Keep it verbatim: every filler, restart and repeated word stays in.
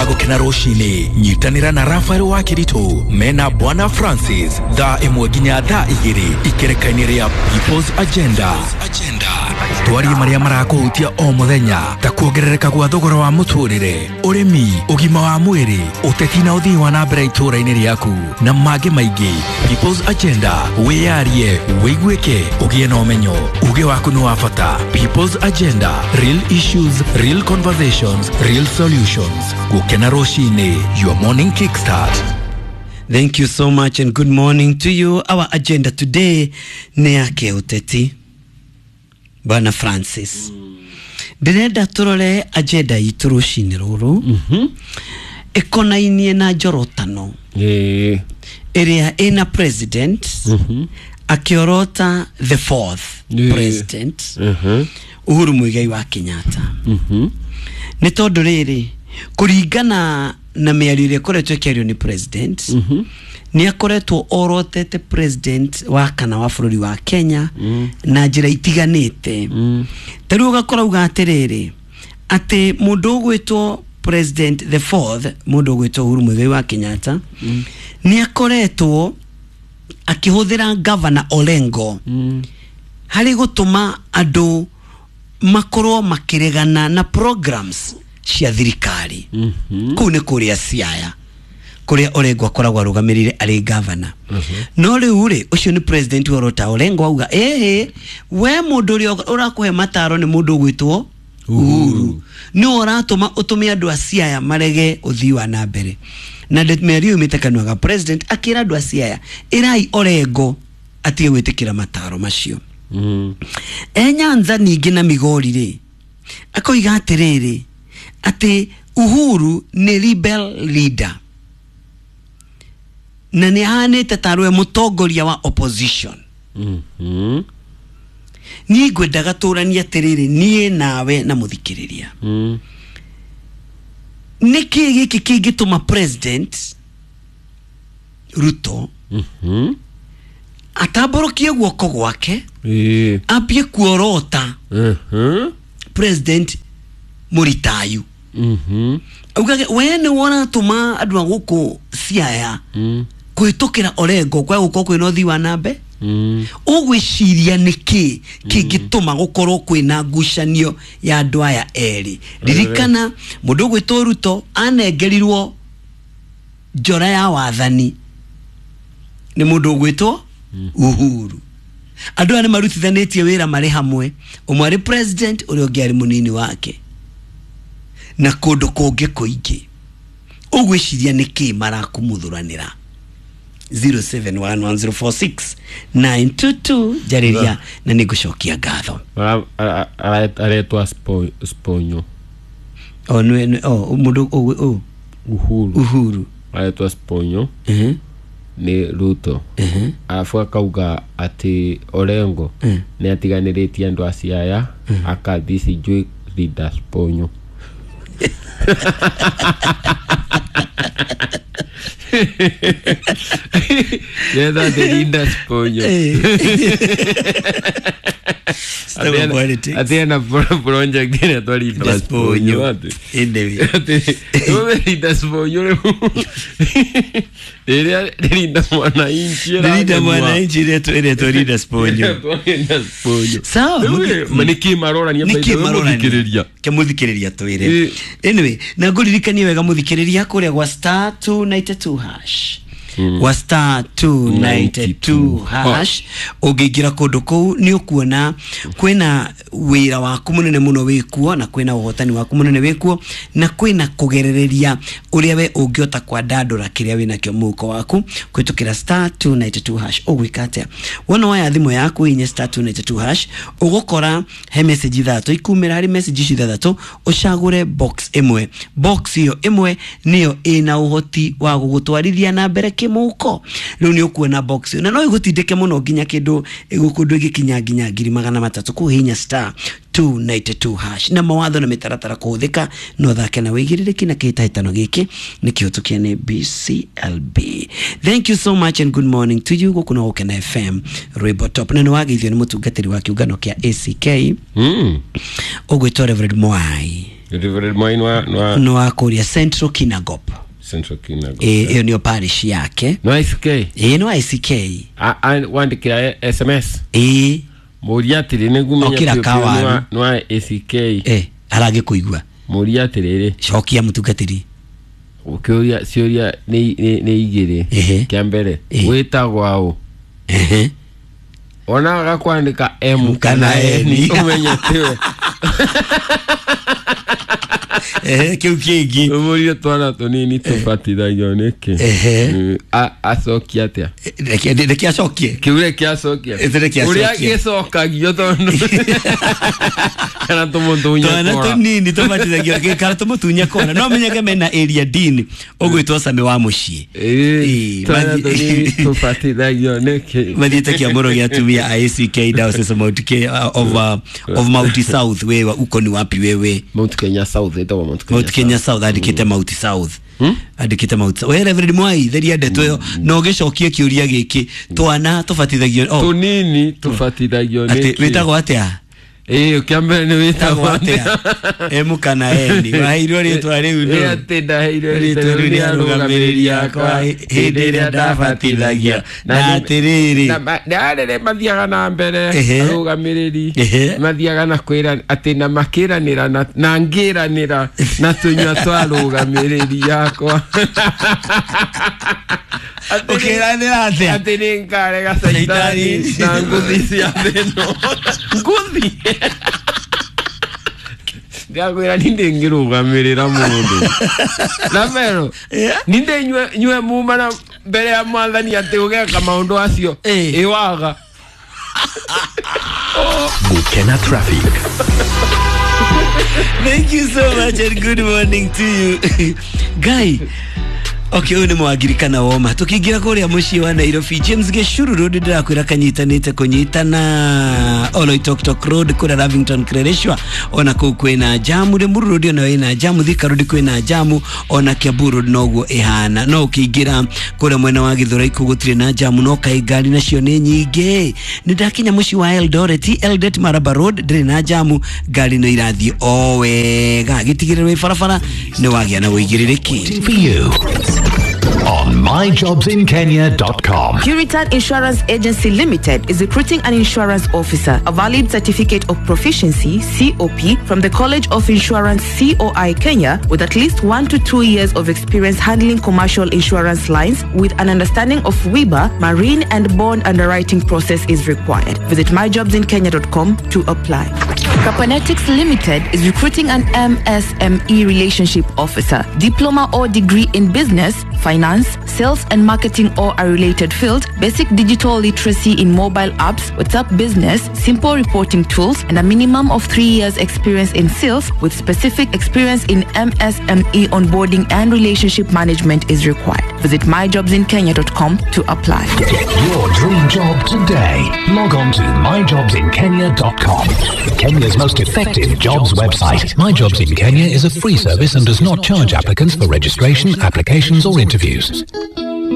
Gũkena rũcinĩ, nyitanĩra na Rafael wa Kiritu mena Bwana Francis thaa ĩmwe nginya thaa igĩrĩ ikereka-inĩ rĩa People's Agenda. Twarie marĩa marakũhutia o mũthenya ta kuongerereka gwa thogora wa mũtũrĩre, ũrĩmi, ũgima wa mwĩrĩ, ũteti na ũthii wa na mbere itũũra-inĩ rĩaku na mangĩ maingĩ. People's Agenda, wĩyarie, wĩiguĩke, ũgĩe na ũmenyo. Uge waku nĩ wa bata. People's Agenda, real issues, real conversations, real solutions. Gũkena rũcinĩ, your morning kickstart. Thank you so much and good morning to you. Our agenda today nĩ ya kĩũteti. Bwana Francis, ndĩrenda tũrore agenda itũ rũcinĩ rũrũ ĩkonainie na njorotano Ĩĩ. ĩrĩa ĩna president akĩorota the fourth Ĩĩ. president Mhm. Uhuru Muigai wa Kenyatta. Mhm. Nĩ tondũ rĩrĩ, kũringana na mĩario ĩrĩa ĩkoretwo ĩkĩario nĩ president, nĩ akoretwo orotete president wa kana wa bũrũri wa Kenya na njĩra itiganĩte. Ta rĩu ũgakora uga atĩrĩrĩ, atĩ mũndũ ũgwĩtwo president the fourth, mũndũ ũgwĩtwo Uhuru Muigai wa Kenyatta, nĩ akoretwo akĩhũthĩra Governor Orengo harĩ gũtũma andũ makorwo makĩregana na programs cia thirikari. Kũu nĩ kũrĩa Siaya, kũrĩa Orengo akoragwo arũgamĩrĩire arĩ gavana. No rĩu rĩ, ũcio nĩ president worota Orengo, auga ĩhĩ, we mũndũ ũrĩa ũrakũhe mataro nĩ mũndũ ũgwĩtwo Uhuru, nĩwe ũratũma ũtũme andũ a Siaya marege ũthii wa na mbere. Na mĩario yumĩte kanua ga president akĩra andũ a Siaya, ĩrai Orengo atige gwĩtĩkĩra mataro macio. Mm. E Nyanza ningĩ na Migori rĩ, akoiga atĩrĩrĩ, atĩ Uhuru nĩ rebel leader na nĩ ahanĩte tarwe mũtongoria wa opposition. Mhm. Niĩ ngwendaga tũranie atĩrĩrĩ, niĩ nawe na mũthikĩrĩria, Mm. nĩkĩ gĩkĩ kĩngĩtũma president Ruto Mhm. atambũrũkie guoko gwake Ĩĩ. ambie kuorota Mhm. president Mũritayu, Mhm. augage we nĩ ũratũma andũ a gũkũ Siaya Mm. kũhĩtũkĩra Orengo kwa gũkorwo kwĩna ũthii wa na mbere? Mm. Ũgwĩciria nĩkĩ kĩngĩtũma gũkorwo kwĩna ngucanio ya andũ aya erĩ? Ririkana mũndũ ũgwĩtwo Ruto anengerirwo njora ya wathani nĩ mũndũ ũgwĩtwo Uhuru. Andũ aya nĩ marutithanĩtie wĩra marĩ hamwe, ũmwe arĩ president, ũrĩa ũngĩ arĩ mũnini wake, na kũndũ kũngĩ kũingĩ. Ũgwĩciria nĩkĩ marakũmũthũranĩra? zero seven one one zero four six nine two two, njarĩria na nĩ ngũcokia ngatho. Ara- ara- ara- aretwa Spo- Sponyo. O nĩ nĩ- o mũndũ ũgwĩ- ũ Uhuru. Uhuru. Aretwa Sponyo Mhm, nĩ Ruto. mhm. Arabu akauga atĩ Orengo Mm. nĩ atiganĩrĩtie andũ a Siaya, akathi sijui leader Sponyo. Yetha the leader Sponyo. Stop politics. Atĩ ena pro- project ĩretwo leader Sponyo atĩ. Anyway. Atĩ wewe leader Sponyo rĩu rĩrĩa Linda Mwananchi Linda Mwananchi ĩretwo ĩretwo Linda Sponyo. Sawa, mũthi- nĩkĩ marorania? Nĩkĩ marorania? Mũthikĩrĩria. Ke mũthikĩrĩria twĩre. Ĩ. Anyway, na ngũririkanie wega mũthikĩrĩria, kũrĩa gwa star two ninety two hash, gwa star two ninety two hash, ũngĩingĩra kũndũ kũu nĩ ũkuona kwĩna wĩra waku mũnene mũno wĩkuo, na kwĩna ũhotani waku mũnene wĩkuo, na kwĩna kũgerereria ũrĩa we ũngĩhota kwandandũra kĩrĩa wĩnakĩo mũhuko waku kũhĩtũkĩra star two ninety two hash. Ũgwĩka atĩa? Wona waya thimũ yaku, hihinya star two ninety two hash, ũgũkora he message ithatũ ikumĩra. Harĩ message icio ithathatũ, ũcagũre box ĩmwe. Box ĩyo ĩmwe nĩyo ĩna ũhoti wa gũgũtwarithia na mbere kĩmũhuko. Rĩu nĩ ũkuona box ĩyo na no ĩgũtindĩke mũno nginya kĩndũ kũndũ ĩgĩkinya nginya ngiri magana matatũ. Kũhihinya star two ninety two hash, na mawatho na mĩtaratara kũhũthĩka. No thake na wĩigĩrĩrĩki na kĩhĩtahĩtano gĩkĩ nĩ kĩhĩtũkie nĩ B C L B. Thank you so much and good morning to you. Gũkũ no Gũkena F M, rwĩmbo top, na nĩ wageithio nĩ mũtungatĩri wa kĩũngano kĩa A C K Mm. ũgwĩtwo Reverend Mwai. Reverend Mwai nwa nwa nĩ wa kũrĩa Central Kinangop. Central Kinangop. Ĩ, ĩyo nĩyo parish yake. Nwa I C K. Ĩ, nĩ I C K. A- a- wandĩkĩra S M S. Ĩ. Mũria atĩrĩ nĩguo menye Okĩra biũ biũ kawaru. nwa- nwa A C K. Ĩ, arangĩkũigua. Mũria atĩrĩrĩ. Cokia mũtungatĩri. Ũkĩũria ciũria nĩ nĩ- nĩ igĩrĩ. Ehe. Kĩa mbere, Ĩ. wĩtagwo aũ? Ehe. Ona agakwandĩka M kana N. Ũmenye tiwe. Ehe, kĩu kĩngĩ? Ũmũrie twana tũnini tũbatithagio nĩkĩ? Ehe. Mm, a- acokia atĩa? Reke reke acokie. Kĩu reke acokia. Ĩtĩ reke ũrĩa acokie. Gĩcokagio tondũ kana tũmũtunye twana kora. Tũnini tũbatithagio kana tũmũtunye kora, no menyage mena area dean ũgwĩtwo Sami wa mũciĩ. Ĩ, Ĩ, twana mathi- tũnini tũbatithagio nĩkĩ? Mathiĩte kĩamũro gĩa atumia a A C K Diocese of Mount Ke- of, uh, of Mount South. Wewe uko ni wapi wewe? Mount Kenya South, ĩtagwo Mount Kenya. Mount Kenya South. Andĩkĩte Mount South, andĩkĩte Mount South. We Reverend Mwai, theria ndeto ĩyo na ũgĩcokie kĩũria gĩkĩ, twana tũbatithagio, oh, Tũnini tũbatithagio atĩ nĩkĩ? Wĩtagwo atĩa? Ĩ, kĩa mbere nĩ wĩtagwo wĩtagwo atĩa? M kana N? Waheirwo rĩtwa rĩu Ĩ, nũ? Atĩ ndaheirwo rĩtwa rĩu nĩ arũgamĩrĩri akwa hĩndĩ ĩrĩa ndabatithagia na atĩrĩrĩ. Na ma- na rĩrĩ mathiaga na mbere Ehe. arũgamĩrĩri Ehe. mathiaga na kwĩra atĩ na makĩranĩra na- na ngĩranĩra na tũnyua twa arũgamĩrĩri yakwa. Atĩ nĩ- Ũkĩranĩra atĩa? Atĩ nĩ ngarega caitani na nguthi cia thĩno nguthi. Ndakwĩra ni ndĩngĩrũgamĩrĩra mũndũ na mero Yeah. ni ndĩ nyue nyue muma na mbere ya mwathani atĩ ũgeka maũndũ acio. Eh. Ĩwaga. Gukena Traffic. Thank you so much and good morning to you. Guy. Okay, ũyũ nĩ mwangiri kana woma. Tũkĩingĩra kũrĩa mũciĩ wa Nairobi, James Gĩcuru Road ndĩrakwĩra kanyitanĩte kũnyitana, Oloitoktok Road kũrĩa Lavington Kileleshwa ona kũu kwĩna jamu, Limuru Road ona ĩna jamu, Thika Road kwĩna jamu, ona Kiambu Road noguo ĩhana. No ũkĩingĩra kũrĩa mwena wa Githurai kũu gũtirĩ na jamu, no kaĩ ngari nacio nĩ nyingĩ. Nĩ ndakinya mũciĩ wa Eldoret, Eldoret Maraba Road ndĩrĩ na jamu, ngari no irathiĩ o wega. Gĩtigĩrĩrwo wĩ barabara nĩ wagĩa na ũigĩrĩrĩki. For you on my jobs in kenya dot com. Puritan Insurance Agency Limited is recruiting an insurance officer, a valid certificate of proficiency C O P from the College of Insurance C O I Kenya, with at least one to two years of experience handling commercial insurance lines with an understanding of W I B A, marine and bond underwriting process is required. Visit my jobs in kenya dot com to apply. Capanetics Limited is recruiting an M S M E relationship officer, diploma or degree in business, finance, sales and marketing or a related field, basic digital literacy in mobile apps, WhatsApp business, simple reporting tools, and a minimum of three years experience in sales with specific experience in M S M E onboarding and relationship management is required. Visit my jobs in kenya dot com to apply. Get your dream job today. Log on to my jobs in kenya dot com. Kenya's most effective jobs website. My Jobs in Kenya is a free service and does not charge applicants for registration, applications, or interviews.